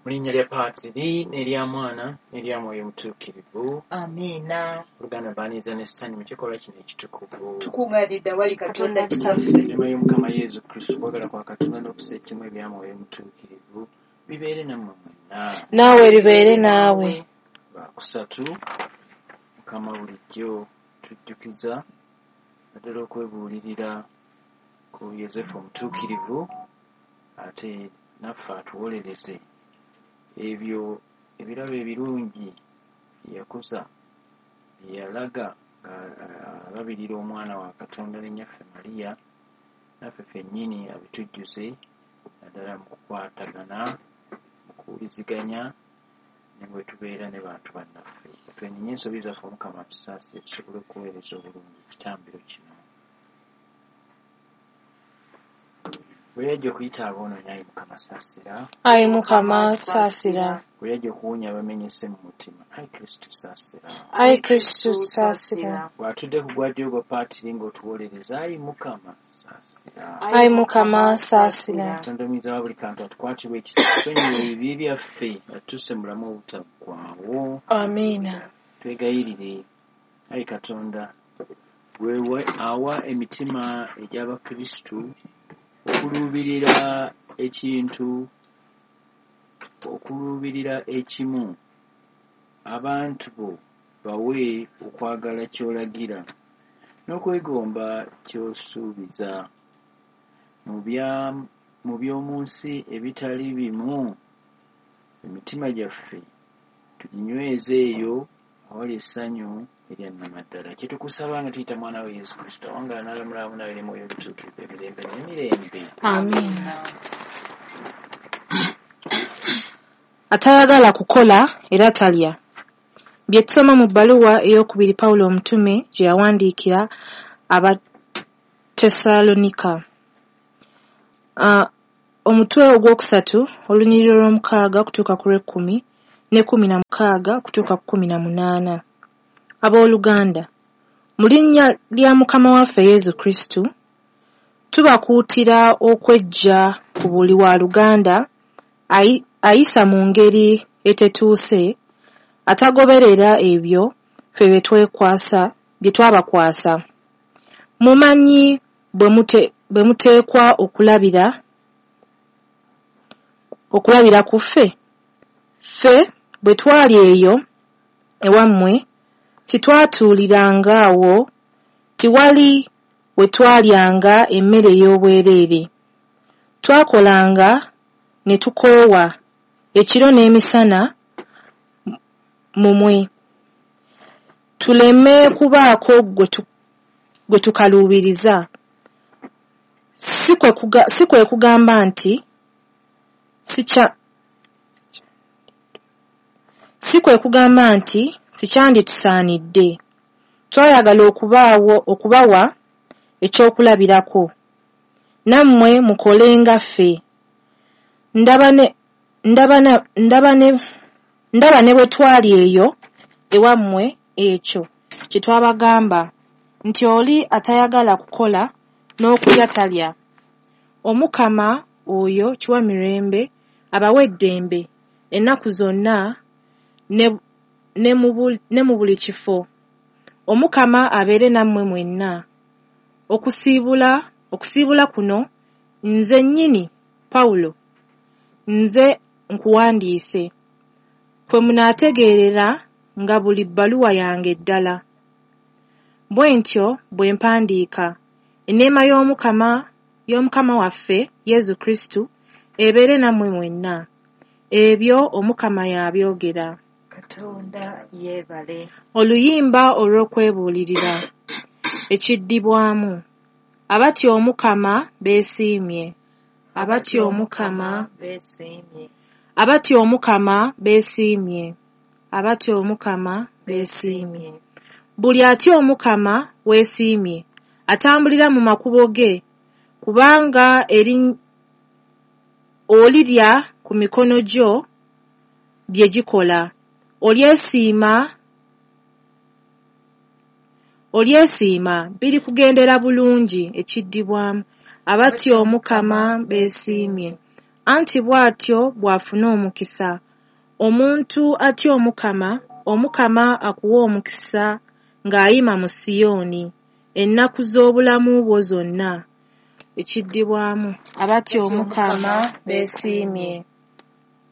Mu linnya lya Paatiri n'erya Mwana n'erya Mwoyo Mutuukirivu. Amiina. Oluganda mbaaniriza n'essanyu mu kikolwa kino ekitukuvu. Tukuŋŋaanidde awali Katonda Kitaffe. Enneema y'Omukama Yesu Kristo, okwagala kwa Katonda n'okussa ekimu ebya Mwoyo Mutuukirivu bibeere nammwe mwenna. Naawe bibeere naawe. Lwakusatu, Mukama bulijjo tujjukiza naddala okwebuulirira ku Yozefu Omutuukirivu, ate naffe atuwolereze ebyo ebirabo ebirungi bye yakuza, bye yalaga ng'alabirira omwana wa Katonda ne nnyaffe Mariya, naffe ffennyini abitujjuze naddala mu kukwatagana, mu kuwuliziganya ne bwe tubeera ne bantu bannaffe. Twenenye ensobi zaffe, Omukama atusaasire tusobole okuweereza obulungi ekitambiro kino. Bwe yajja okuyita aboonoonyi, ayi Mukama saasira. Ayi Mukama saasira. Bwe yajja okuwonya abamenyese mu mutima, ayi Kristo saasira. Ayi Kristo saasira. Bw'atudde ku gwa ddyo ogwa Paatiri ng'otuwolereza, ayi Mukama saasira. Ayi Mukama saasira. Katonda omuyinza wa buli kantu atukwatirwe ekisa, atusonyiwe ebibi byaffe, atutuuse mu bulamu obutaggwaawo. Amiina. Twegayirire, ayi Katonda, gwe awa emitima egy'Abakristu okuluubirira ekintu, okuluubirira ekimu, abantu bo bawe okwagala ky'olagira n'okwegomba ky'osuubiza. Mu by'omu nsi ebitali bimu, emitima gyaffe tuginyweze eyo awali essanyu erya nnamaddala. Kye tukusaba nga tuyita Mwana we Yesu Kristo, awangaala n'alamula awamu nawe ne Mwoyo Omutuukirivu emirembe n'emirembe. Amiina. Atayagala kukola era talya. Bye tusoma mu bbaluwa ey'okubiri Pawulo omutume gye yawandiikira Abatesalonika. Omutwe ogwokusatu, olunyiriri olw'omukaaga okutuuka ku lw'ekkumi ne 16 okutuuka ku 18. Abooluganda, mu linnya lya Mukama waffe Yesu Kristo, tubakuutira okweggya ku buli waaluganda ayisa mu ngeri etetuuse, atagoberera ebyo ffe bye twabakwasa. Mumanyi bwe muteekwa okulabira ku ffe. Ffe bwe twali eyo ewammwe, titwatuuliranga awo, tiwali we twalyanga emmere ey'obwereere. Twakolanga ne tukoowa ekiro n'emisana mu mmwe, tuleme kubaako gwe tukaluubiriza. Si kwe kugamba nti sikyanditusaanidde. Twayagala okubawa ekyokulabirako, nammwe mukole nga ffe. Ndaba ne bwe twali eyo ewammwe ekyo kye twabagamba nti oli atayagala kukola n'okulya talya. Omukama oyo Kiwamirembe abawe eddembe ennaku zonna ne mu buli kifo. Omukama abeere nammwe mwenna. Okusiibula kuno nze nnyini Pawulo nze nkuwandiise, kwe munaategeerera nga buli bbaluwa yange ddala. Bwe ntyo bwe mpandiika. Enneema y'Omukama waffe Yesu Kristo ebeere nammwe mwenna. Ebyo Omukama y'abyogera. Katonda yeebale. Oluyimba olw'okwebuulirira. Ekiddibwamu. Abatya Omukama beesiimye. Abatya Omukama beesiimye. Abatya Omukama beesiimye. Abatya Omukama beesiimye. Buli atya Omukama weesiimye, atambulira mu makubo ge, kubanga olirya ku mikono gyo bye gikola. Olyesiima birikugendera bulungi. Ekiddibwamu. Abatya Omukama beesiimye. Anti bw'atyo bw'afuna omukisa. Omuntu atya Omukama, Omukama akuwa omukisa ng'ayima mu Siyoni, ennaku z'obulamu bwo zonna. Ekiddibwamu. Abatya Omukama beesiimye.